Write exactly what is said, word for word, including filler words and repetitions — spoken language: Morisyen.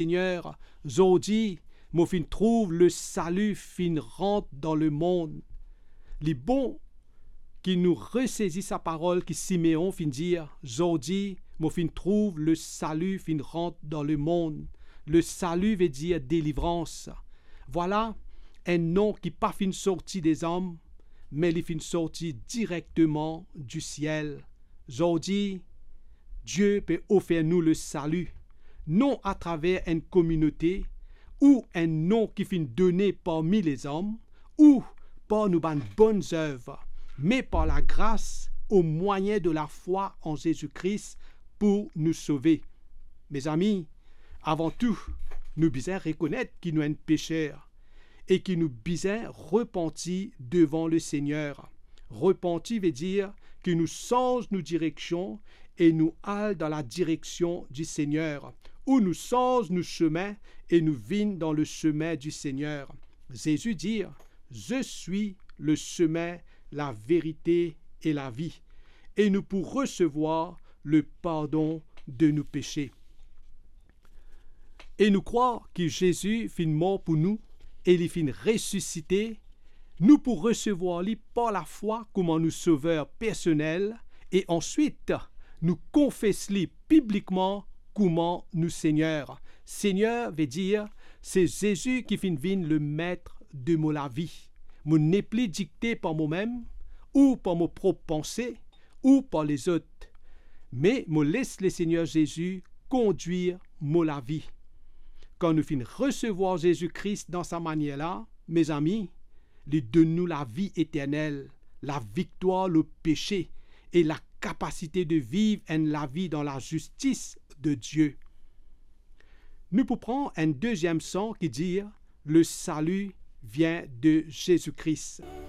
Segner, zordi mo finn trouv lesali finn rant dan lemond. Li bon ki nou resezi sa parol ki Simeon finn dir, zordi mo finn trouv lesali finn rant dan lemond. Lesali vedir delivrans. Vwala enn non ki pa finn sorti dezom, me li finn sorti direkteman disiel. Zordi, Die pe ofer nou lesali, non atraver enn kominote ou enn non ki finn done parmi lezom ou par nou bann bonn zev, me par lagras, omwayin de lafwa an Zezi Kris, pou nou sove. Mezami, avan tou, nou bizin rekonet ki nou enn peser e ki nou bizin repanti devan Lesegner. Repanti vedir ki nou sanz nou direksion e nou al dan ladireksion di Segner, ou nou sanz nou sime e nou vinn dan lesemin di Segner. Zezi dir, "Je suis le chemin, la vérité et la vie." E nou pou resevwar lepardon de nou pese. E nou krwar ki Zezi finn mor pou nou e li finn resisite, nou pou resevwar li par lafwa kouma nou Sover personel e answit nou konfes li piblikman kouma nou Segner. Segner vedir se Zezi ki finn vinn Lemet de mo lavi. Mo nepli dikte par momem ou par mo prop panse ou par lezot, me mo les Lesegner Zezi kondwir mo lavi. Kan nou finn resevwar Zezi Kris dan sa manier la, mezami, li donn nou lavi eternel, laviktwar lor pese e lakapasite de viv enn lavi dan lazistis de Die. Nou pou pran enn deziem san ki dir, "Lesali vinn de Zezi Kris."